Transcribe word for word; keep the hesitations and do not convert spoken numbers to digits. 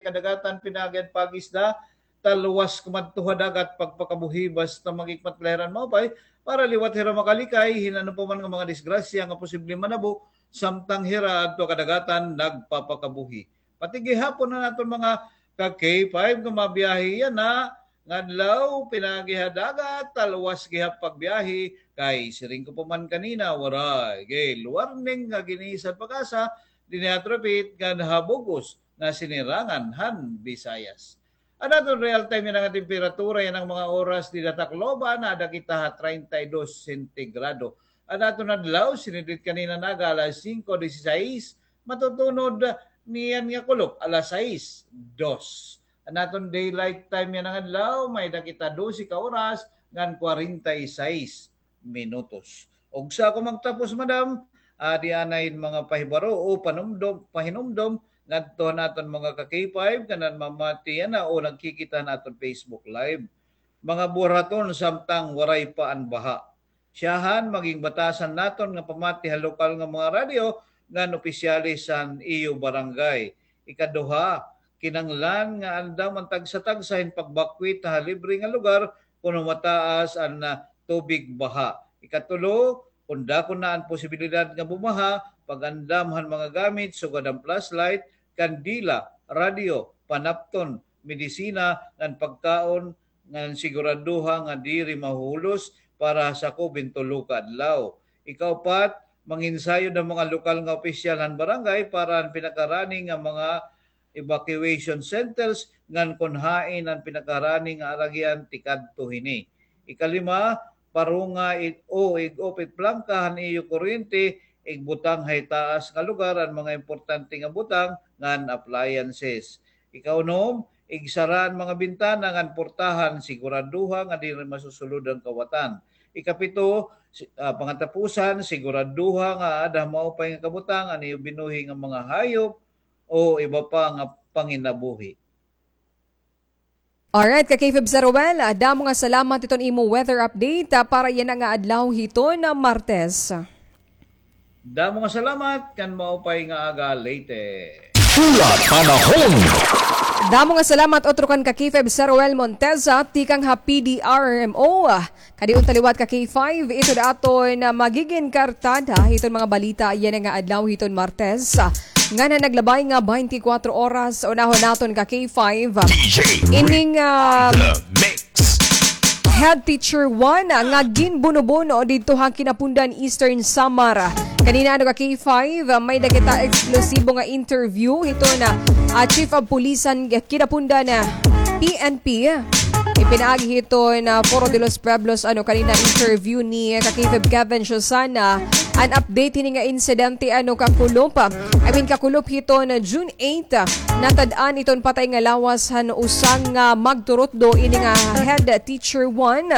kadagatan pinaagi han pag-isda, talwas kumadto ha dagat pagpakabuhi basta magikmat la hira hin maupay, para liwat hira makalikay hin ano pa man nga mga disgrasya nga posible manabo samtang hira adto ha kadagatan nagpapakabuhi. Pati gihapon an aton mga ka-K five nga mabiyahe yana nga adlaw, pinaagi ha dagat, talwas gihap pagbiyahe, kay siring ko pa man kanina, waray gay warning nga gin-isa han PAGASA dinhi ha Tripit ngan ha bug-os nga sinirangan han Visayas. An aton real time yana nga temperatura yana nga mga oras dida ha Tacloban, naada kita ha treinta y dos sentigrado. An aton adlaw, sinidrit kanina nga aga alas singko disisais, matutunod niyan nga kulop alas sais dos. An aton daylight time yana nga adlaw, may-ada kita dose ka oras ngan kwarenta y sais minutos. Ug sa ako magtapos, madam, adi anay mga pahibaro o panumdom, pahinumdom ngadto han aton mga ka-K five nga namamati yana o nagkikita han aton Facebook Live. Mga buhaton samtang waray pa an baha. Syahan, maging batasan naton nga pamati ha lokal nga mga radyo ngan opisyales han iyo barangay. Ikaduha, kinahanglan nga andam an tagsa-tagsa hin pagbakwit ha libre nga lugar kon humataas an, ah, tubig baha. Ikatulo, kon dako na an posibilidad nga bumaha, pag-andam han mga gamit sugad an flashlight, kandila, radyo, panapton, medisina, ngan pagkaon ngan siguraduha nga diri mahuhulos para sakob hin tulo ka adlaw. Ikaupat, manginsayod an mga lokal nga opisyal han barangay para an pinakarani nga mga evacuation centers ngan kon hain an pinakarani nga aragian tikadto hini. Ikalima, parunga it, o ig-off it plangka han iyo kuryente, igbutang ha itaas nga lugar an mga importante nga butang ngan appliances. Ikaunom, igsara an mga bintana ngan portahan, siguraduha nga diri masusulod an kawatan. Ikapito, si-, ah, pangatapusan, siguraduha nga aada ha maupay nga kabutang an iyo binuhi nga mga hayop o iba pa nga panginabuhi. Alright, ka-K five Sir Ruel, ah, damo nga salamat hiton imo weather update, ah, para yana nga adlaw hiton Martes. Damo nga salamat, ngan maupay nga aga, Leyte. Pula Panahon. Damo nga salamat utro kan ka-K five Sir Ruel Monteza, tikang ha P D R M O. Kadi unta liwat ka-K five, ito da aton, ah, magigin kartada hiton mga balita yana nga adlaw hiton Martes. Ngan ha naglabay nga twenty-four oras, unahon naton ka-K five. D J ining, ah, The Mix. Head Teacher one, ah, nga ginbuno-buno didto ha Quinapondan, Eastern Samar. Kanina, ano, ka-K five, ah, may-ada kita eksklusibo nga interview hiton, ah, ah, Chief of Police han Quinapondan, ah, P N P. Ipinaagi hiton, ah, Foro de los Pueblos, ano, kanina interview ni, ah, ka-K five Kevin Susana. An update hini nga insidente, ano, kakulop, ah, I mean, kakulop hiton, ah, June eight, ah, natad-an iton patay nga lawas han usa nga magturutdo ini nga head teacher one.